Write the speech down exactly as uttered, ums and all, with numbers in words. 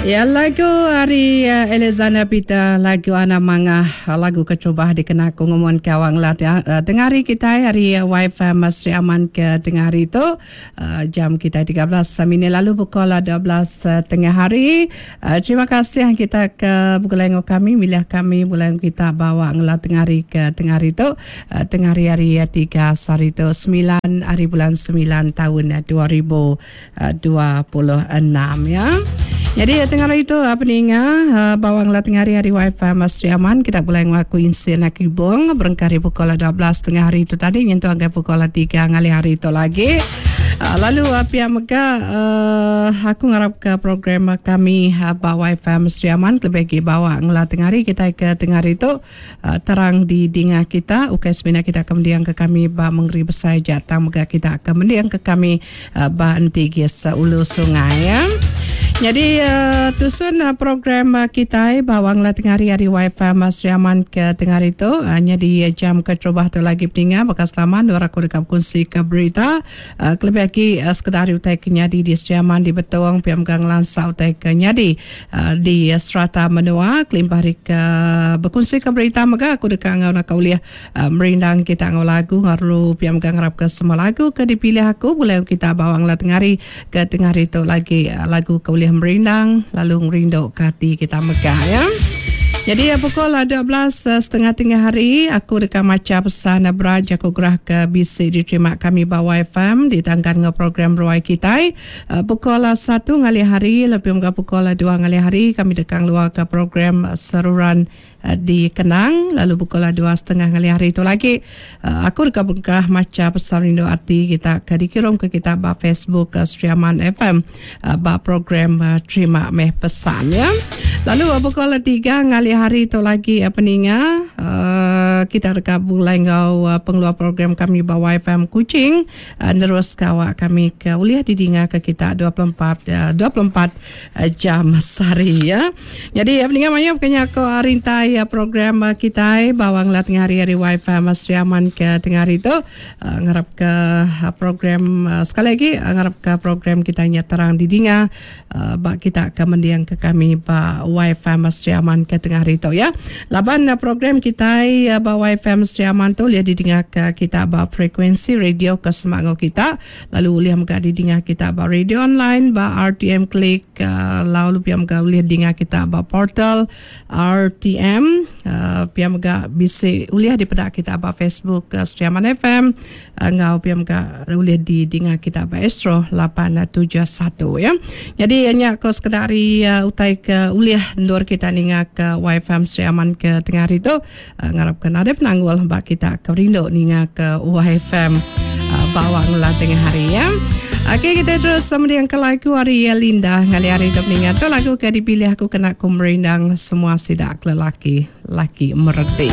Ya lagu ari Alexander Peter lagu Ana Mangah lagu keterubah dikena aku ngumun ke awak ngelat ya. Tengah hari kitai ari Y F M Sri Aman ke tengah hari tu jam kitai tiga belas minit lalu pukul dua belas tengah hari. Terima kasih kita ke begulai enggau kami milih kami begulai enggau kita ba awak ngelat tengah hari ke tengah hari tu tengah hari hari tiga sehari tu semilan hari bulan semilan taun dua ribu dua puluh enam ya. Jadi tengah hari tu peninga bawang lah tengah hari hari Y F M Sri Aman kita boleh ngaku insin akibong berengkah hari pukul dua belas tengah hari tu tadi nyentuh angkai pukul tiga ngalih hari tu lagi. Lalu pihak mega aku ngarap ke program kami ba Y F M Sri Aman lebih lagi bawa ngelah tengah hari kita ke tengah hari tu terang di dinga kita ukai semina kita ke mendiang ke kami ba Mengeri Besai Jatang mega kita ke mendiang ke kami ba Entigis Ulu Sungai ya. Jadi uh, tusun uh, program uh, kita bawang lah tengah hari hari Y F M Sri Aman ke tengah hari tu hanya di uh, jam keterubah tu lagi peninga bekas lama dua aku dekat kongsi ke berita uh, kelebih lagi uh, sekedar utai kenyadi di Sri Aman di Betong P M Gang Lansa utai kenyadi uh, di uh, serata menua kelimpah hari ke berkongsi ke berita mega aku dekat ngau nak uliah uh, merindang kita ngau lagu ngaru P M Gang harap ke semua lagu ke dipilih aku boleh kita bawang lah tengah hari ke tengah hari tu lagi uh, lagu ke uliah merindang lalu ngerindu ke hati kita megah ya. Jadi pukul dua belas setengah tengah hari aku dekat maca pesan beraja aku gerah ke B C diterima kami ba Y F M ditangkan dengan program Ruai Kitai. Pukul satu ngalih hari lebih mga pukul dua ngalih hari kami dekat luar ke program Seruran di Kenang lalu pukul dua setengah ngalih hari itu lagi aku dekat bengkah maca pesan rindu hati kita ke dikirim ke kita ba Facebook Sri Aman F M ba program Terima Meh Pesan ya. Lalu pukul tiga ngalih hari itu lagi peninga kita dekat bulai ngau pengeluar program kami ba Y F M Kuching nerus kawak kami ke uliah didinga ke kita dua puluh empat dua puluh empat jam sehari ya. Jadi peninga maya bukannya aku rintai program kita bawang lah tengah hari hari Y F M Sri Aman ke tengah hari itu ngarap ke program sekali lagi ngarap ke program kita nya terang didinga bak kita ke mendiang ke kami ba Y F M Sri Aman ke tengah hari itu ya. Laban program kita ba Y F M Sri Aman tu lihat didinga ke kita ba frekuensi radio ke semangat kita lalu lihat mega didinga kita ba radio online ba R T M Klik lalu pihak mega lihat dinga kita ba portal R T M pihak mega bisa uliah di pedak kita ba Facebook Sri Aman F M ngau pihak mega uliah di dinga kita ba Astro lapan tujuh satu ya. Jadi hanya ko sekedar utai ke uliah ndur kita ninga ke Y F M Sri Aman ke tengah hari tu ngarapkan ada penanggul bak kita ke rindu ninga ke Y F M bawa ngulah tengah hari ya. Okey, kita terus sama dengan ke lagu hari Linda ngali hari tu mengingat tu lagu ke dipilih aku kena ku merindang semua sidak lelaki laki mereti.